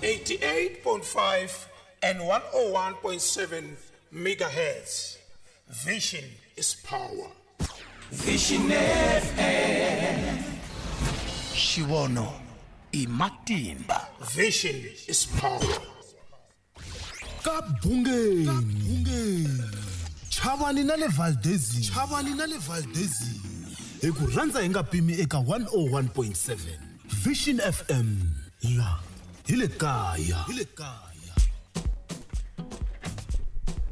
88.5 and 101.7 megahertz. Vision is power. Vision FM. Xivono i matimba. Vision is power. Ka bungeni chavani na le Valdezini, chavani na le Valdezini, hi ku rhandza hi nga pimi eka 101.7 Vision FM, la hi le kaya, hi le kaya.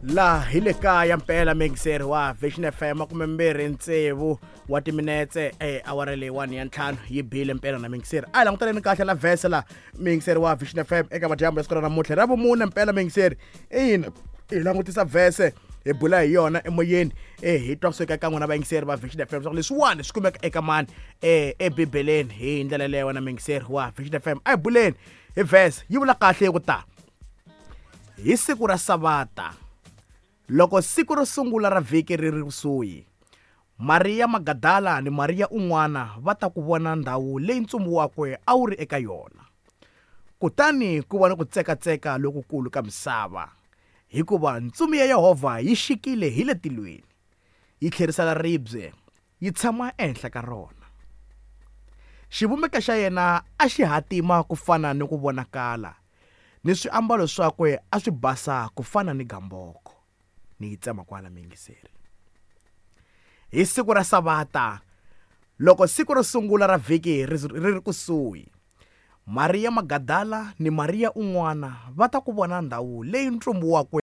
La hi le kaya mpela, mixer wa Vision FM, 26 wa timinetse e awara leyiwani ya 5 yi bile mpela na mixer. A hi langutaneni kahle la vhese la, mixer wa Vision FM, eka madyambu ya siku ra namuntlha ra vumune mpela, mixer. Ina, hi langutisa vhese, hi bula hi yona emoyeni, hi twa kusuka eka n'wina vayingiseri va Vision FM swa ku leswiwani swi kumeka eka mani ebibeleni. Hi ndlela leyo wena mixer wa Vision FM, a hi buleni hi vhese. Yi vula kahle ku ta hi siku ra savata, loko siku ro sungula ra vhiki ri ri kusuhi, Mariya Magadala ni Mariya un'wana va ta ku vona ndhawu leyi ntsumbu wakwe a wu ri eka yona. Kutani ku va ni ku tsekatseka lokukulu ka misava, hikuva ntsumi ya Yehovha yi xikile hi le tilweni, yi tlherisela ribye, yi tshama ehenhla ka rona. Xivumbeko xa yena a xi hatima ku fana ni ku vonakala, ni swiambalo swakwe a swi basa ku fana ni gamboko. Ni yi tsema kwala, miyingiseri. Hi siku ra savata, loko siku ro sungula ra vhiki ri ri kusuhi, Mariya Magadala ni Mariya un'wana va ta ku vona ndhawu leyi ntsumbu wakwe